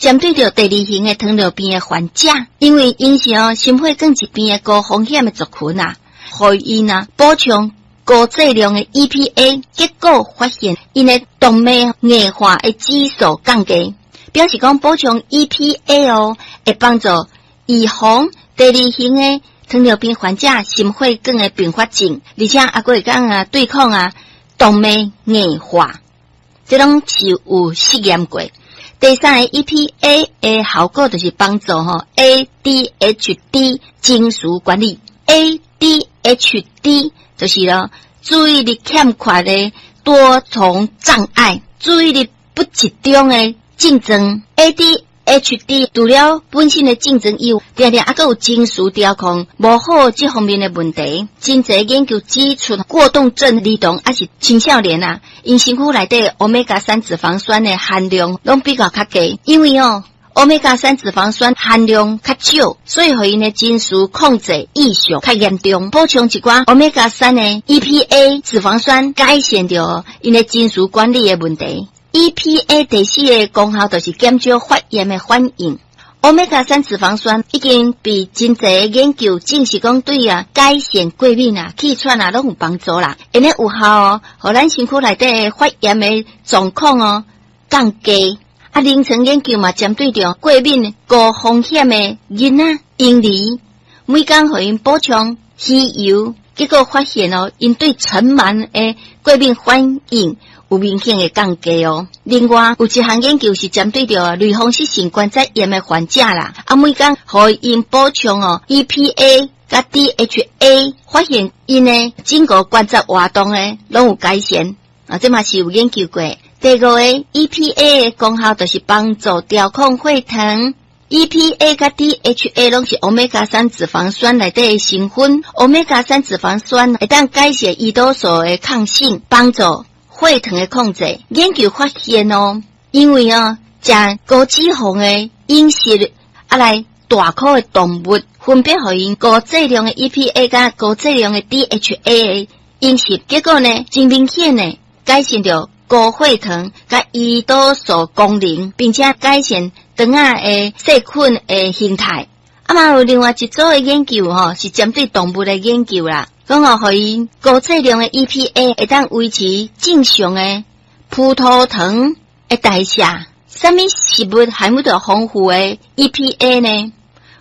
針對著第二型的糖尿病的患者，因為𪜶是哦心血管疾病的高風險的族群啊，予𪜶啊補充高劑量的 EPA，結果發現𪜶的動脈硬化的指數降低，表示講補充 EPA 哦，會幫助預防第二型的糖尿病患者心血管的併發症，而且猶閣會當啊對抗啊動脈硬化，這攏是有實驗過。第三个 EPA 的效果就是幫助吼 ADHD 情緒管理，ADHD 就是咯注意力欠缺的多重障礙，注意力不集中的症狀。ADHD 除了本身的症狀以外，定定猶閣有情緒調控無好這方面的問題。真濟研究指出，過動症兒童抑是青少年啊，𪜶身軀內底歐米伽三脂肪酸的含量攏比較較低，因為哦，歐米伽三脂肪酸含量較少，所以予𪜶的情緒控制異常較嚴重。補充一寡歐米伽三的 EPA 脂肪酸，改善著𪜶的情緒管理的問題。EPA 第四个功效就是減少發炎的反應。歐米伽三脂肪酸已經被真濟研究證實講對啊改善過敏啊、氣喘啊攏有幫助啦。會呢有效哦，予咱身軀內底的發炎的狀況哦降低。啊，臨床研究嘛，針對著過敏高風險的囡仔、嬰兒，每工予𪜶補充魚油，結果發現哦，𪜶對塵蟎的過敏反應有明顯的降低哦。另外，有一項研究是針對著類風濕性關節炎的患者啦，啊，每工予𪜶補充哦 EPA 佮 DHA，發現𪜶的整個關節活動的攏有改善。啊，這嘛是有研究過。第五个 EPA 的功效就是幫助調控血糖。EPA 佮 DHA 攏是歐米伽三脂肪酸內底的成分。歐米伽三脂肪酸會當改善胰島素的抗性，幫助血糖的控制。研究發現哦，因為哦，食高脂肪的飲食，啊來大顆的動物，分別予𪜶高劑量的 EPA 佮高劑量的 DHA 的飲食，結果呢，真明顯的改善著高血糖佮胰島素功能，並且改善腸仔的細菌的形態。啊嘛有另外一組的研究吼，是針對動物的研究啦。講哦，予𪜶高劑量的 EPA 會當維持正常的葡萄糖的代謝。啥物食物含有著豐富的 EPA 呢？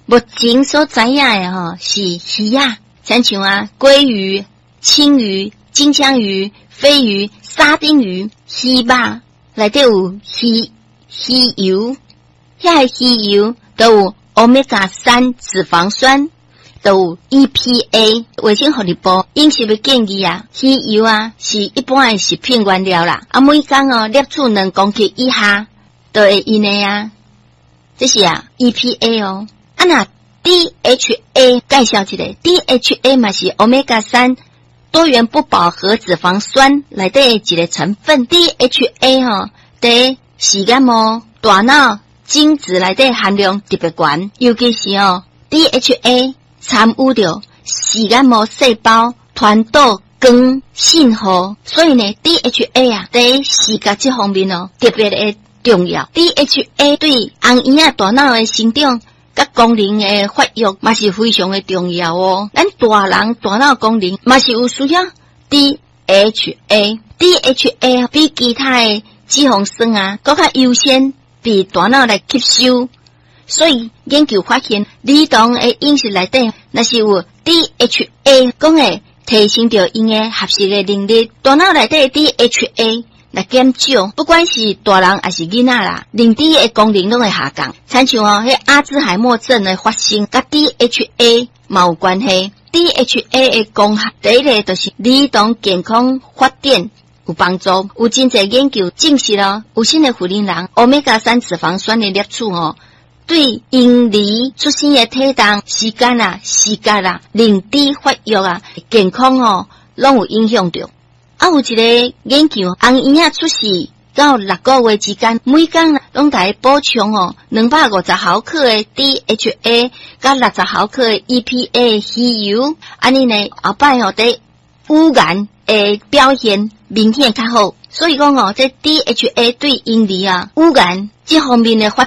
目前所知影的吼是魚仔，親像啊鮭魚、青魚、金槍魚、鯡魚、沙丁魚、魚肉內底有魚油，遐个魚油都有歐米伽三脂肪酸，都有 EPA。衛生福利部飲食的建議啊，魚油啊是一般的食品原料啦，啊每工哦攝取2公克以下都會用的啊，這是啊 EPA 哦。啊若 DHA 介紹一下，DHA 嘛是歐米伽三多元不飽和脂肪酸內底的一個成分。DHA 吼，佇視網膜、大腦、精子內底含量特別懸，尤其是哦 DHA 參與著視網膜細胞傳導光信號，所以呢 DHA 啊，佇視覺這方面哦特別的重要。DHA 對紅嬰仔大腦的成長佮功能的發育嘛是非常的重要哦。咱大人大腦功能嘛是有需要 DHA，DHA 比其他的脂肪酸啊，閣較優先被大腦來吸收。所以研究發現，兒童的飲食內底若是有 DHA，講會提升著𪜶的學習的能力。大腦內底 DHA 來減少，不管是大人抑是囡仔啦，認知的功能攏會下降。親像哦，彼阿茲海默症的發生，佮 DHA 嘛有關係。DHA 的功效，第一个就是兒童健康發展有幫助。有真濟研究證實咯，有身的婦人歐米伽三脂肪酸的攝取哦，對嬰兒出生的體重、時間啊、視覺啊、認知發育啊、健康哦，攏有影響著。啊，有一個研究，紅嬰仔出世到6個月之間，每工攏共補充哦250毫克的 DHA，佮60毫克的 EPA 魚油，按呢呢後擺吼佇語言的表現明顯較好。所以講哦，這 DHA 對嬰兒啊語言這方面的發